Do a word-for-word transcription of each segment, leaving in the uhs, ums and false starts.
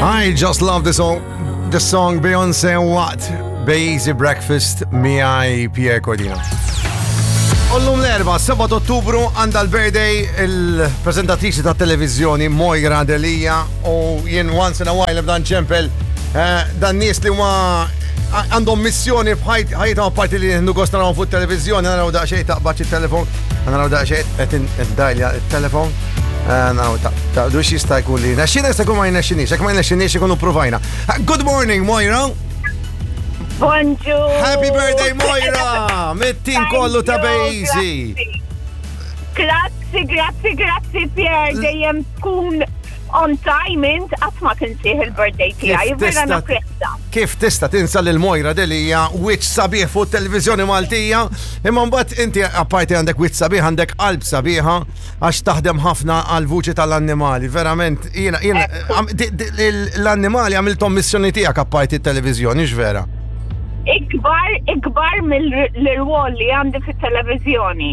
I just love the song, the song Beyonce What, Bejzy Breakfast miegħi Pierre Cordino. U llum l-Erbgħa, sebgħa Ottubru, għandha l-birthday il-prezentatriċi ta' televizjoni Moira Delia u jien once in a while b'dan ċempel eh, dan nies li huma għandhom missjoni f'ħajjithom apparti li nieħdu gost narawhom fuq televizjoni, naraw daqsxejn taqbad it-telefon, naraw daqsxejn qed id-dajlja it-telefon. Eh, naraw ta' ta' dux jista' jkun li naxxina jista' jkun ma jnexxinix, jekk ma jnexxinix ikunu provajna. Good morning, Moira! Bonġu! Happy birthday, Moira! Mit-tim kollu ta' Bejzi! Grazzi, grazzi, grazzi, Pierre. Dejjem tkun on time int qatt ma tinsih il-birthday tiegħi. Vera napprezza. Kif tista' tinsa lil Moira Delia wiċċ sabiħ fuq televizjoni Maltija, imma mbagħad inti apparti għandek wiċċ sabiħ għandek qalb sabiħa għax taħdem ħafna għal vuċi tal-annimali. Verament, jiena jiena l-annimali għamilthom missjoni tiegħek apparti t-televiżjoni, vera? Ikbar, ikbar mill-rwol li għandi fit-televizjoni.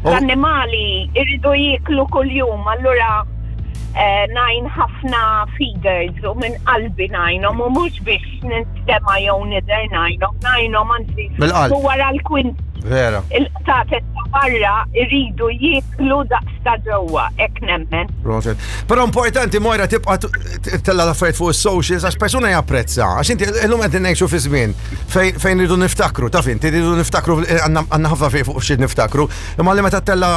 Oh. L-annimali irridu jiklu kull-jum, allura eh, ngħin ħafna feeders u minn qalbi ngħinhom u mhux biex ninstema jew nidher ngħinhom, ngħinhom anzi Mill-qalb. u wara l-kwint Vera. il-qtates ta' barra irridu jiklu daqs ta' ġewwa, hekk nemmen. Proset. Però importanti Moira tibqa' tella l-affarijiet fuq is-socials għax persuna japprezza. Għax inti illum qed ngħixu fi żmien fejn fejn rridu niftakru, taf inti rridu niftakru għandna għandna ħafna fejn fuq xi niftakru. Imma li meta tella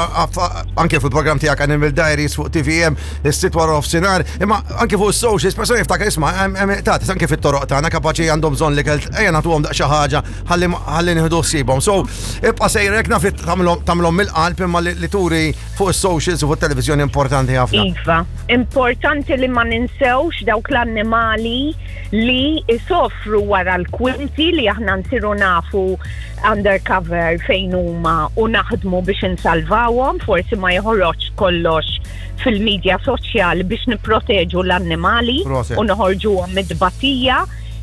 anke fil-programm tiegħek Animal Diaries fuq T V M is-sitt wara nofsinhar, imma anke fuq is-socials persuna jiftakar isma' ta' anke fit-toroq tagħna kapaċi għandhom bżonn li ejja nagħtuhom daqs xi ħaġa ħalli ħalli nieħdu ħsiebhom. So ibqa' sejrek naf tagħmilhom tagħmilhom mill-qalb imma li li turi fuq is-socials u fuq televizjoni importanti ħafna. Iva, importanti li ma ninsewx dawk l-annimali li jisofru wara l-kwinti li aħna nsiru nafu undercover fejn huma u naħdmu biex insalvawhom, forsi ma joħroġ kollox fil-medja soċjali biex nipproteġu l-annimali Proset. u noħorġuhom mid-batija.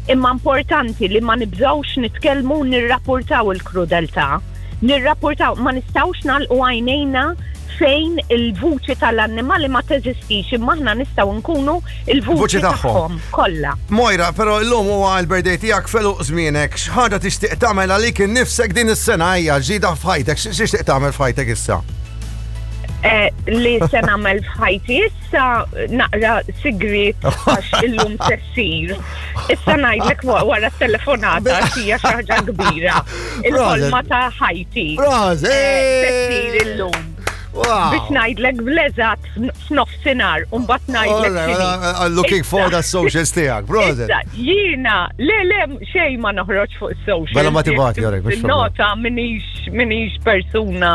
Imma importanti li ma nibżgħux nitkellmu u nirrapportaw il-krudeltà. Nirrapportaw, ma nistgħux nagħlqu għajnejna fejn il-vuċi tal-annimali ma teżistix, imma aħna nistgħu nkunu il-vuċi Vuċi tagħhom. tagħhom kollha. Moira, però llum huwa l-birthday tiegħek felu żmienek, x'ħaġa tixtieq tagħmel għalik innifsek din is-sena hija ġdida f'ħajtek, x'tixtieq tagħmel f'ħajtek issa? Eh, li se nagħmel f'ħajti issa naqra sigrit għax illum se ssir. Issa ngħidlek wa- wara t-telefonata għax hija xi ħaġa kbira. Il-ħolma ta' ħajti. Proset! Eh, se ssir illum. Wow! Biex ngħidlek bl-eżatt f'nofsinhar u mbagħad ngħidlek Alright, x'inhi. I'm looking forward Issa- għas socials tiegħek, proset. Issa, jiena, le, le, xejn ma noħroġ fuq social. Bella ma tibgħati, jarek, mhux problema. Nota m'iniex, m'iniex persuna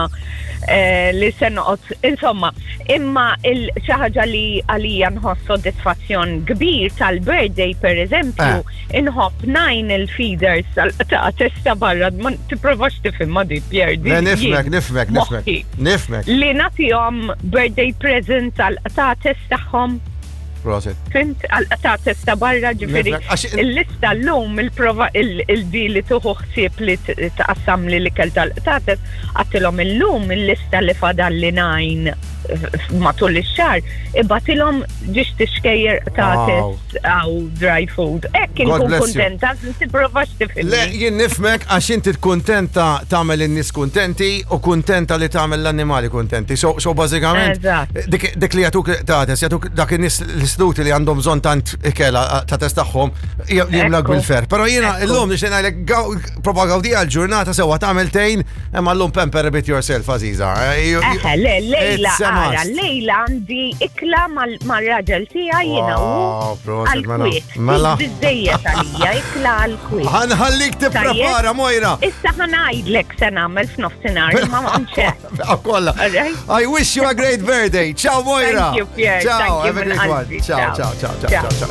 eh, li se noqgħod, insomma, imma il xi ħaġa li għalija nħoss soddisfazzjon kbir tal-birthday, per eżempju, Eh. inħobb ngħin il-feeders ta' testa barra, ma tipprovax tifhimha di, Pierre. di- Le, nifhmek, jien, nifhmek, nifhmek. moħħi. Nifhmek, Li nagħtihom birthday present tal-qtates tagħhom. Proset. Fhimt, għal-qtates ta' barra ġifieri. Nifhmek, għax- Il-lista l-lum il-prova il-di li tieħu ħsieb li t- taqassam li l-ikel tal-qtates, għedtilhom illum il-lista li fadal li ngħin matul ix-xahar, ibgħatilhom ġiex tixkejjer qtates għaw dry food. Hekk God inkun bless you. kontenta, tipprovax tifhimni. Le, jien nifhmek għax inti kuntenta tagħmel in-nies kuntenti u kuntenta li tagħmel l-annimali kuntenti. So, so bażikament Eżatt. dik, dik li jagħtuk tates, jagħtuk dak in-nies l-istituti li għandhom bżonn tant ikel tates tagħhom jimlak Ekku. bil-ferħ. Però jiena Ekku. illum nixtieq ngħidlek gaw- prova gawdi għal-ġurnata sewwa tagħmel tejn, imma llum pamper a bit yourself, Aziza. Eh, you- you- Eħe, le, lejla, It's a ara, must. lejla għandi ikla mal- mal-raġel tiegħi jiena u Wow, proset, mela. għal-kwiet. Mela. Biżżejjed għalija, ikla għal-kwiet. Ħa nħallik tipprepara, Moira. Issa ħa ngħidlek se nagħmel f'nofsinhar, ma m'hemmx. Kolla. Alright. I wish you a great birthday. Ciao, Moira. Thank you, Pierre. Ciao, Thank you have a minn great one. qalbi. Ciao, ciao, ciao, ciao, ciao, ciao.